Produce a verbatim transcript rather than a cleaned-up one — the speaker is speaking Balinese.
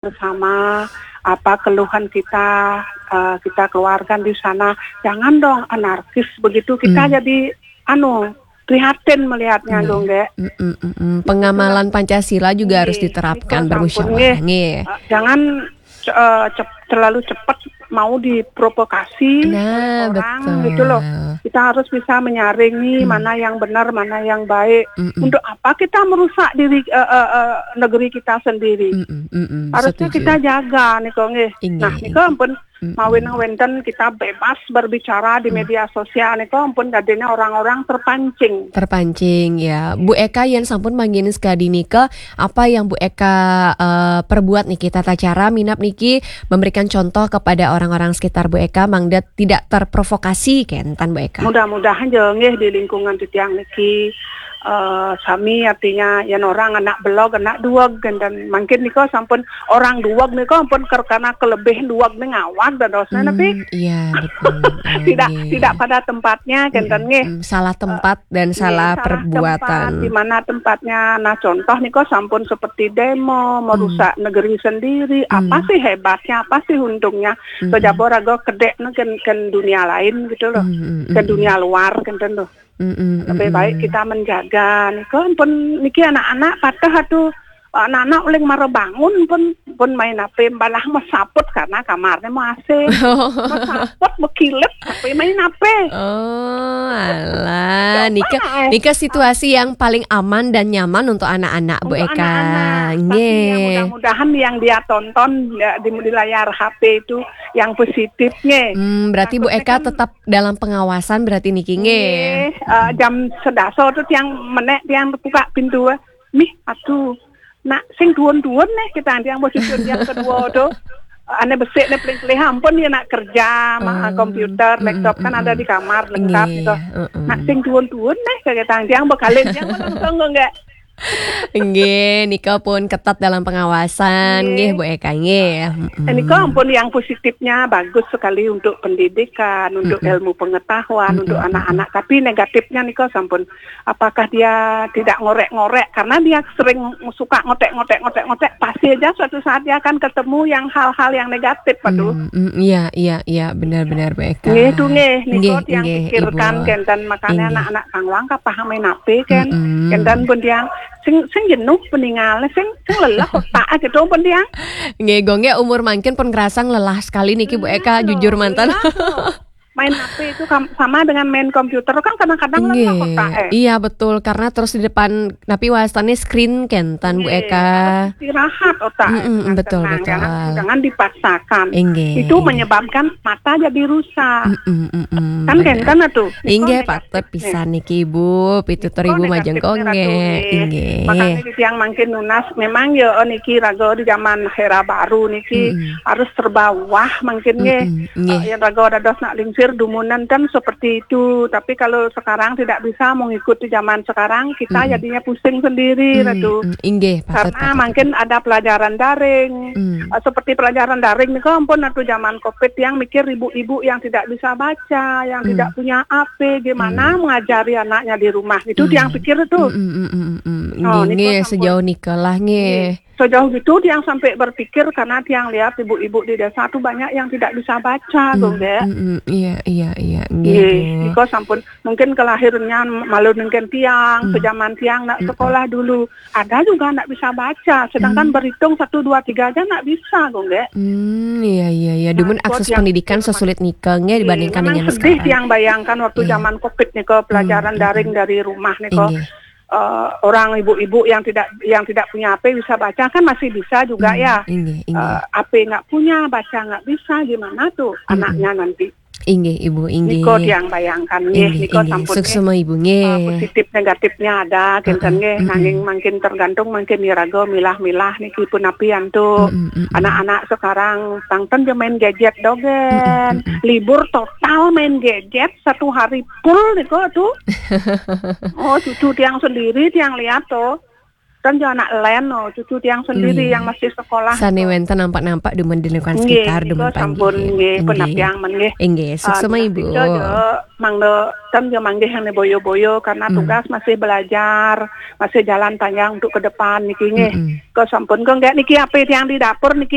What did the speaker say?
bersama, apa keluhan kita, eh, kita keluarkan di sana. Jangan dong anarkis begitu. Kita Hmm. jadi, anu, prihatin melihatnya, Nggih. Dong, Gek. Mm-mm, mm-mm. Pengamalan Pancasila juga harus Nggih, diterapkan, niku sampun, bermusyawarah. Nggih. Nggih. Eh, jangan, eh, cep-, terlalu cepat mau diprovokasi Nah, oleh orang, betul. Gitu loh. Kita harus bisa menyaringi Hmm. mana yang benar, mana yang baik. Mm-mm. Untuk apa kita merusak diri, eh, eh, eh, negeri kita sendiri? Mm-mm, mm-mm, Harusnya setuju. Kita jaga, niko, nggih. Inggih, Nah, niko inggih. Ampun, Mm-mm. Mawinang wenten kita bebas berbicara di Hmm. media sosial, niko ampun dadine orang-orang terpancing. Terpancing, ya. Bu Eka, yen sampun manggihin sekadi nika, apa yang Bu Eka, eh, perbuat niki, tata cara minab niki memberikan contoh kepada orang-orang sekitar Bu Eka, mangda tidak terprovokasi, kenten, Bu Eka? Mudah-mudahan ya, nggih, di lingkungan titiang niki, eh, sami, artinya, yen orang anak belog, anak duweg, kenten. Mangkin nika sampun orang duweg nika ampun ker-, karena kelebih duweg ning awak dadosne, tapi Hmm, iya, betul. Oh, tidak, nggih. Tidak pada tempatnya, kenten, Mm-mm, nggih. Mm, salah tempat dan Nggih, salah salah perbuatan. Tempat, di mana tempatnya. Nah, contoh nika sampun seperti demo, merusak Hmm. negeri sendiri. Apa Hmm. sih hebatnya, apa sih untungnya? Mm-mm. Kejaba raga kedek ken, ken dunia lain gitu loh. Mm-mm, Ke mm-mm. Dunia luar, kenten loh. Mm-mm, Lebih mm-mm. Baik kita menjaga. Nika pun niki anak-anak patah atuh. Anak-anak uling mara bangun pun, pun main H P, malah mesaput karena kamarnya mau A C. Mesaput, mekilet, tapi main H P. Oh, alah. Coba, nika, eh. Nika situasi yang paling aman dan nyaman untuk anak-anak, Bu Eka. Untuk anak-anak. Tapi ya, nggih. Mudah-mudahan yang dia tonton, ya, di, di layar H P itu yang positif, nggih. Hmm, berarti Bu Eka tetap dalam pengawasan berarti niki, nggih. Nggih, eh, jam sedasa tuh tiang menek, tiang buka pintu, eh. Mih, aduh. Nak, sing duwun-duwun nih, kita tiang posisi yang kedua tuh. Ane besik nih, paling kelih ampun ya nak kerja, ma-, Hmm, komputer, mm-mm, laptop kan ada di kamar, lengkap nggih, gitu. Mm-mm. Nak, sing duwun-duwun nih, kayak tiang bekalin, tiang langsung kok nggak. Nggih, nika pun ketat dalam pengawasan, nggih, Bu Eka, nggih. Mm-mm. Nika ampun yang positifnya bagus sekali untuk pendidikan, untuk ilmu pengetahuan, untuk anak-anak. Mm-mm, mm-mm. Tapi negatifnya nika sampun, apakah dia tidak ngorek-ngorek? Karena dia sering suka ngotek-ngotek, ngotek-ngotek, pasti aja suatu saat dia akan ketemu yang hal-hal yang negatif, aduh. Hmm, mm, iya, iya, iya, benar-benar, Bu Eka. Nggih, itu nggih, nika nggih, yang nggih, pikirkan, Ibu. Kenten, makanya anak-anak kang wang kapah main H P, kan. Mm-mm. Kenten pun dia sing, sing jenuh peninggal, sing, sing lelah otak gitu pun dia. Nggih, gongge umur mangkin pun ngerasa lelah sekali niki, Bu Eka, jujur mantan. Lelah, loh. Main H P itu kam-, sama dengan main komputer kan kadang-kadang lelah otak, eh. Iya, betul, karena terus di depan, tapi wastane screen kenten, Bu Eka. Harus istirahat otak, eh, mm-mm, betul, tenang, betul. Jangan, jangan dipaksakan. Inggih. Itu menyebabkan mata jadi rusak. Mm-mm, mm-mm, kan bener. Kenten tuh. Inggih, patut pisan niki, Ibu. Pitutur Ibu majeng kok nggih. Inggih. Makanya tiang mangkin nunas, memang ya niki raga di zaman era baru niki harus serba wah mangkin nggih. Mm-mm, nggih. Eh, yang raga dados nak lingsir dumunan kan seperti itu. Tapi kalau sekarang tidak bisa mengikuti zaman sekarang, kita jadinya pusing sendiri, Ratu. Mm-mm, inggih, patut, patut, patut. Karena mangkin ada pelajaran daring. Mm. Eh, seperti pelajaran daring nih, ampun, waktu zaman covid, tiang mikir ibu-ibu yang tidak bisa baca, yang tidak punya H P, gimana mengajari anaknya di rumah, gitu, tiang pikir itu. Mm, mm, mm, mm, mm. Oh, nggih, nggih, sejauh nika lah, nggih. Nggih. Sejauh itu tiang sampai berpikir karena tiang lihat ibu-ibu di desa tuh banyak yang tidak bisa baca, tuh, nggih. Mm, mm, iya, iya, iya, nggih, nggih, Bu. Nika sampun mungkin kelahirannya malu nengken tiang, sejaman tiang nak sekolah dulu. Ada juga ndak bisa baca, sedangkan berhitung satu, dua, tiga aja ndak bisa, kok, nggih. Hmm, iya, iya, iya. Nah, dumun akses pendidikan sesulit nika, nggih, dibandingkan dengan sekarang. Iya, memang sedih yang bayangkan waktu zaman covid nika, pelajaran daring dari rumah nika. Inggih. Eh, orang ibu-ibu yang tidak, yang tidak punya H P bisa baca kan masih bisa juga, ya. Inggih, inggih. Eh, H P nggak punya, baca nggak bisa, gimana tuh anaknya nanti? Inggih, Ibu, inggih. Niko tiang bayangkan, nggih, inggih, niko inggih. Sampun, suksma, nggih. Ibu, nggih. Ah, positif negatifnya ada, kenten, heeh, nggih, mm-mm. Nanging mangkin tergantung mangkin iraga milah-milah niki punapi antuk. Mm-mm, mm-mm. Anak-anak sekarang tangten dia main gadget dogen. Mm-mm, mm-mm. Libur total main gadget, satu hari full niko tuh. Oh, cucu tiang sendiri, tiang lihat tuh. Ten jo anak len, oh, cucu tiang sendiri Nggih. Yang masih sekolah. Sane wenten nampak-nampak dumun di lingkungan Nggih, sekitar dumun nika panggih. Sampun nggih, Nggih. Pendapiang men nggih. Inggih, suksma Ah, Ibu. nika jo, mangda ten jo manggih yang boyo-boyo karena Hmm. Tugas masih belajar, masih jalan panjang untuk ke depan niki nggih. Mm-mm. Ke sampun ke nggih niki ape tiang di dapur niki